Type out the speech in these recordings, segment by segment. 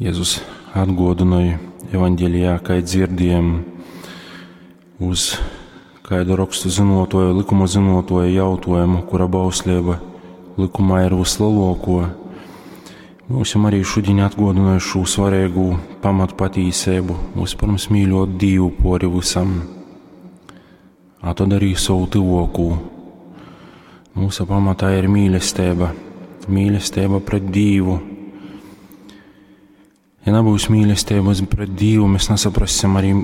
Jezus atguodynoj evaņgelijā, kai dzirdiejam, uz kaida rokstu zynuotuoja, lykuma zynuotuoja jautuojumu, kura bausleiba lykumā ir vysleluokuo. Myusim arī šudiņ atguodynoj šū svareigū pamatpatīseibu, vyspyrms mīļuot Dīvu puori vysam, a tod arī sovu tyvuokū. Myusu pamatā ir mīlesteiba, mīlesteiba pret Dīvu. Ja nabyus mīlesteibys pret Dīvu, mēs nasaprassim arī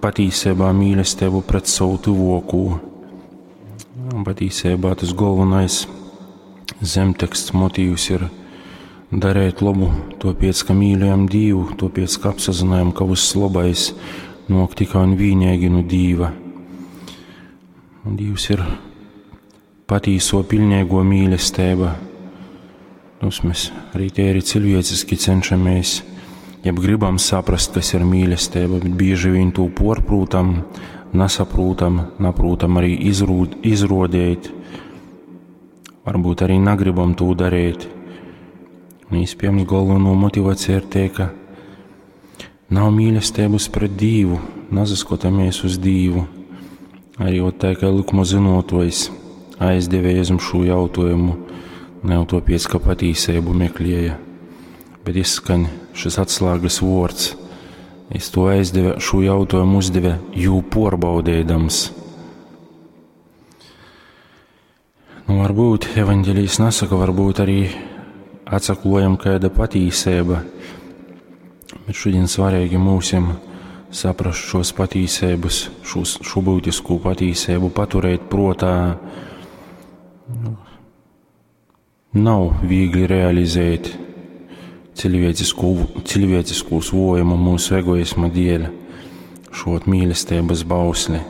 patīseibā mīlesteibu pret sovu tyvuokū. Un patīseibā tas golvonais zemteksts motīvs ir darēt lobu, tuopiec, ka mīļojam Dīvu, tuopiec, ka apsazynojam, ka vyss lobais nuok tikai un vīneigi nu Dīva. Un Dīvs ir patīso piļneiguo mīlesteiba. Mums mēs arī tīri cilvēciski cenšamies, jeb gribam saprast, kas ir mīlesteiba, bet bieži vien to porprūtam, nasaprūtam, naprūtam arī izrodēt, varbūt arī nagribam to darīt. Un iespējams galveno motivācija ir te, ka nav mīlestības pret Dīvu, nasaskatāmies uz Dīvu. Arī ot tā, kā likuma zinotojs aizdeva Jēzum šo jautājumu, ne jau topiec, ka patīseibu meklēja, bet izskaņ šis atslēgas vords. Es to aizdeva, šo jautājumu uzdeva, jū porbaudēdams. Nu, varbūt evaņģēlijs nesaka, varbūt arī atsaklojam kāda patīseiba, bet šodien svarīgi mūsim saprast šos patīseibas, šos, šo būtisko patīseibu, paturēt protā. Nu, nav viegli realizēt cilvēciskūs vojumu mūsu egoisma dēļ, šo mīlestības bausli.